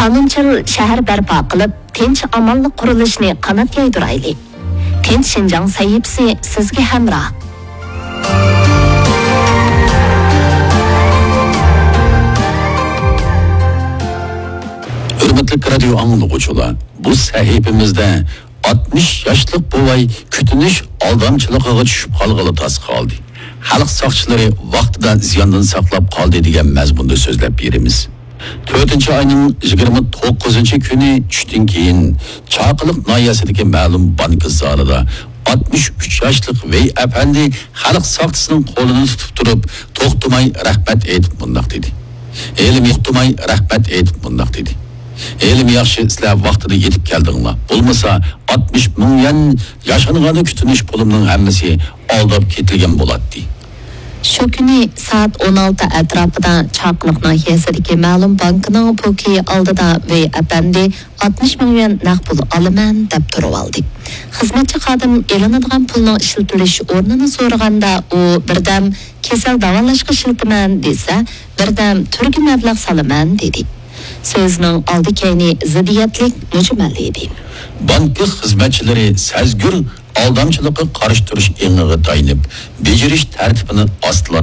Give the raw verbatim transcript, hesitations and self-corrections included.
قانۇنچىل شەھەر بەرپا قىلىپ، تىنچ-ئامانلىق قۇرۇلۇشىنى قانات يايدۇرايلى. تىنچ شىنجاڭ سەھىپىسى سىزگە ھەمراھ. ھۆرمەتلىك رادىيو ئاڭلىغۇچىلار، بۇ سەھىپىمىزدە ئاتمىش ياشلىق بوۋاي كۈتۈنۈش ئالدامچىلىقىغا چۈشۈپ قالغىلى تاس قالدى. خەلق ساقچىلىرى ۋاقتىدا زىياندىن ساقلاپ قالدى دېگەن مەزمۇندا سۆزلەپ بېرىمىز. تۆتىنچى ئاينىڭ يىگىرمە توققۇزىنچى كۈنى چۈشتىن كېيىن چاقىلىق ناھىيەسىدىكى مەلۇم بانكا زالىدا ئاتمىش ئۈچ ياشلىق ۋېي ئەپەندى خەلق ساقچىسىنىڭ قولىنى تۇتۇپ تۇرۇپ، توختىماي رەھمەت ئېيتىپ مۇنداق دېدى. ھېلىمۇ توختىماي رەھمەت ئېيتىپ مۇنداق دېدى. ھېلىمۇ ياخشى سىلەر ۋاقتىدا يېتىپ كەلدىڭلار. بولمىسا ئاتمىش مىڭ يۈەن ياشانغاندا كۈتۈنۈش پۇلۇمنىڭ ھەممىسى ئالداپ كېتىلگەن بولاتتى. شۇ كۈنى سائەت ئون ئالتە ئەتراپىدا چاقىلىق ناھىيەسىدىكى مەلۇم بانكىنىڭ پوكى ئالدىدا ۋېي ئەپەندى ئاتمىش مىڭ يۈەن نەق پۇل ئالىمەن دەپ تۇرۇۋالدى. خىزمەتچى خادىم ئېلىنىدىغان پۇلنىڭ ئىشلىتىلىش ئورنىنى سورىغاندا، ئۇ بىردەم كېسەل داۋالاشقا ئىشلىتىمەن دېسە، بىردەم تۈرگە مەبلەغ سالىمەن دېدى. سۆزىنىڭ ئالدى-كەينى زىددىيەتلىك، مۈجمەل ئىدى. بانكا خىزمەتچىلىرى سەزگۈر ئالدامچىلىققا قارشى تۇرۇش ئېڭىغا تايىنىپ، بېجىرىش تەرتىپىنى ئاستىلاپ